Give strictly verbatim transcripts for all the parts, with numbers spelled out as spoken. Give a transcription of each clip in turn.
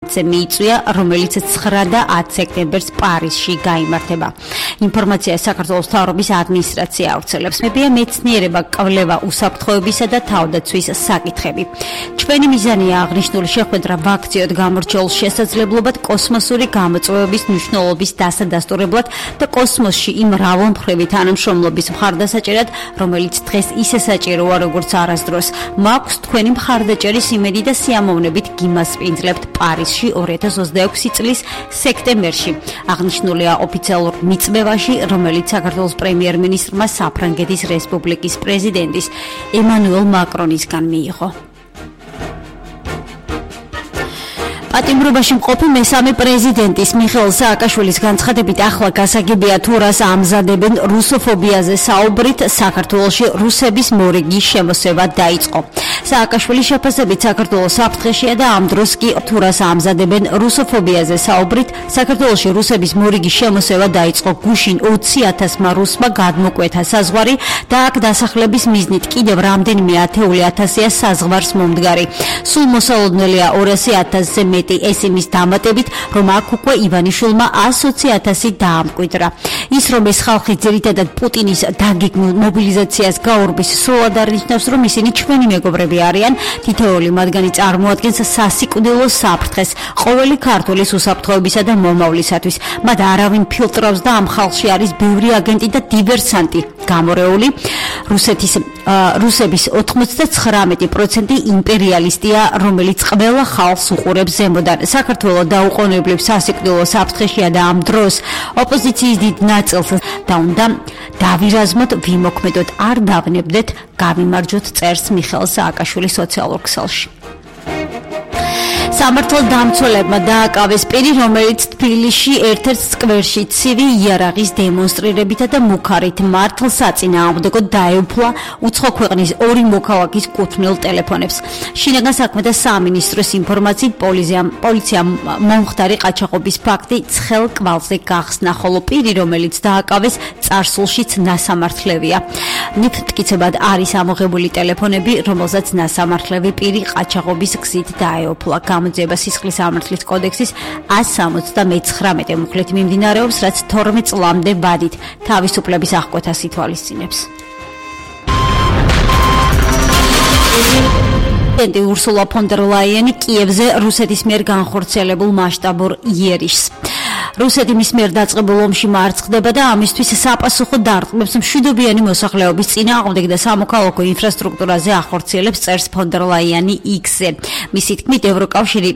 მიიწვია, რომელიც ცხრა და ათი სექტემბერს პარიზში გაიმართება. ინფორმაცია საქართველოს მთავრობის ადმინისტრაცია ავრცელებს. მებია მეცნიერება, კვლევა, უსაფრთხოებისა და თავდაცვის საკითხები. ჩვენი მიზანია აღნიშნული შეხვედრა ვაქციოდ გამორჩეულ შესაძლებლობად კოსმოსური გამოწვევების მნიშვნელობის დასადასტურებლად და კოსმოსში იმ მრავალმხრივი თანამშრომლობის მხარდასაჭერად, რომელიც დღეს ისე საჭიროა, როგორც არასდროს. მაქვს თქვენი მხარდაჭერის იმედი და სიამოვნებით გიმასპინძლებთ პარიზში ორი ათას ოცდაექვსი წლის სექტემბერში. აღნიშნულია ოფიციალურ მიწვევაში, რომელიც საქართველოს პრემიერ-მინისტრმა საფრანგეთის რესპუბლიკის პრეზიდენტის ემანუელ მაკრონისგან მიიღო. პატიმრობაში მყოფი მესამე პრეზიდენტის მიხეილ სააკაშვილის განცხადებით ახლა გასაგებია თუ რას ამზადებენ რუსოფობიაზე საუბრით საქართველოში რუსების მორიგი შემოსევა დაიწყო. სააკაშვილის შეფასებით საქართველოს საფრთხეშია და ამ დროს კი თუ რას ამზადებენ რუსოფობიაზე საუბრით საქართველოში რუსების მორიგი შემოსევა დაიწყო. გუშინ ოცი ათასმა რუსმა გადმოკვეთა საზღვარი და აქ დასახლების მიზნით კიდევ რამდენიმე ათეული ათასია საზღვარს მომდგარი. სულ მოსალოდნელია ორასი ათასზე მეტი. ეს იმის დამატებით, რომ აქ უკვე ივანიშვილმა ასი ათასი დაამკვიდრა. ის რომ ეს ხალხი ძირითადად პუტინის დაგეგმილ მობილიზაციას გაურბის, სრულად არნიშნავს, რომ ისინი ჩვენი მეგობრები არიან. თითოეული მათგანი წარმოადგენს სასიკვდილო საფრთხეს ყოველი ქართველის უსაფრთხოებისა და მომავლისათვის. მათ არავინ ფილტრავს და ამ ხალხში არის ბევრი აგენტი და დივერსანტი გამორეული. რუსეთის რუსების ოთხმოცდაცხრამეტი პროცენტი იმპერიალისტია, რომელიც ყველა ხალხს უყურებს ზემოდან. საქართველო დაუყოვნებლივ სასიკვდილო საფრთხეშია და ამ დროს ოპოზიციის დიდ ნაწილს და უნდა დავირაზმოთ, ვიმოქმედოთ, არ დავნებდეთ, გავიმარჯვოთ, წერს მიხეილ სააკაშვილის სოციალურ ქსელში. სამართალდამცველებმა დააკავეს პირი, რომელიც თბილისში ერთ-ერთ სკვერში ცივი იარაღის დემონსტრირებითა და მუქარით მართლსაწინააღმდეგოდ დაეუფლა უცხო ქვეყნის ორი მოქალაქის კუთვნილ ტელეფონებს. შინაგან საქმეთა სამინისტროს ინფორმაციით პოლიციამ მომხდარი ყაჩაღობის ფაქტი ცხელ კვალზე გახსნა, ხოლო პირი, რომელიც დააკავეს, წარსულშიც ნასამართლევია. ნიფტკიცებად არის ამოღებული ტელეფონები, რომელზეც ნასამართლევი პირი ყაჩაღობის გზით დაეუფლა. გამოძიება სისხლის სამართლის კოდექსის ასი სამოცდამეცხრამეტე მუხლით მიმდინარეობს, რაც თორმეტ წლამდე ვადით თავისუფლების აღკვეთას ითვალისწინებს. პრეზიდენტი ურსულა ფონ დერ ლაიენი კიევზე რუსეთის მიერ განხორციელებულ მასშტაბურ იერიშს. რუსეთი მის მიერ დაწყებულ ომში მარცხდება და ამისთვის საპასუხო დარტყმებს მშვიდობიანი მოსახლეობის წინააღმდეგ და სამოქალაქო ინფრასტრუქტურაზე ახორციელებს, წერს ფონ დერ ლაიანი იქსზე. მისი თქმით, ევროკავშირი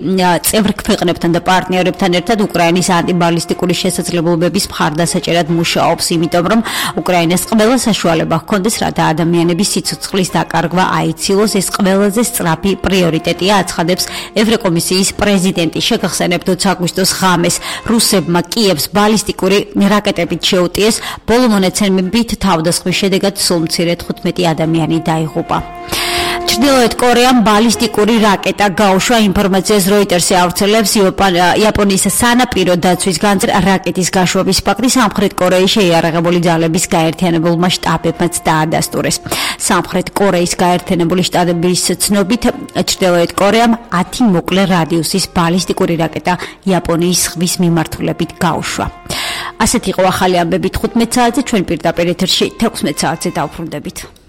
წევრ ქვეყნებთან და პარტნიორებთან ერთად უკრაინის ანტიბალისტიკური შესაძლებლობების მხარდასაჭერად მუშაობს, იმიტომ რომ უკრაინას ყველა საშუალება ჰქონდეს, რათა ადამიანების სიცოცხლის დაკარგვა აიცილოს. ეს ყველაზე სწრაფი პრიორიტეტია, აცხადებს ევროკომისიის პრეზიდენტი. შეგახსენებთ ოცი აგვისტოს ღამეს რუსებმა კიევს ბალისტიკური რაკეტებით შეუტიეს. ბოლო მონაცემებით თავდასხმის შედეგად სულ მცირე თხუთმეტი ადამიანი დაიღუპა. ჩრდილოეთ კორეამ ბალისტიკური რაკეტა გაუშვა. ინფორმაციას როიტერსი ავრცელებს. იაპონიის სანაპირო დაცვის განძრ რაკეტის გაშვების ფაქტი სამხრეთ კორეის შეიარაღებული ძალების გაერთიანებულმა შტაბებმაც დაადასტურეს. სამხრეთ კორეის გაერთიანებული შტაბების ცნობით, ჩრდილოეთ კორეამ ათი მოკლე რადიუსის ბალისტიკური რაკეტა იაპონიის ზღვის მიმართულებით გაუშვა. ასეთი იყო ახალი ამბები თხუთმეტ საათზე, ჩვენ პირდაპირ ეთერში თექვსმეტ საათზე დავბრუნდებით.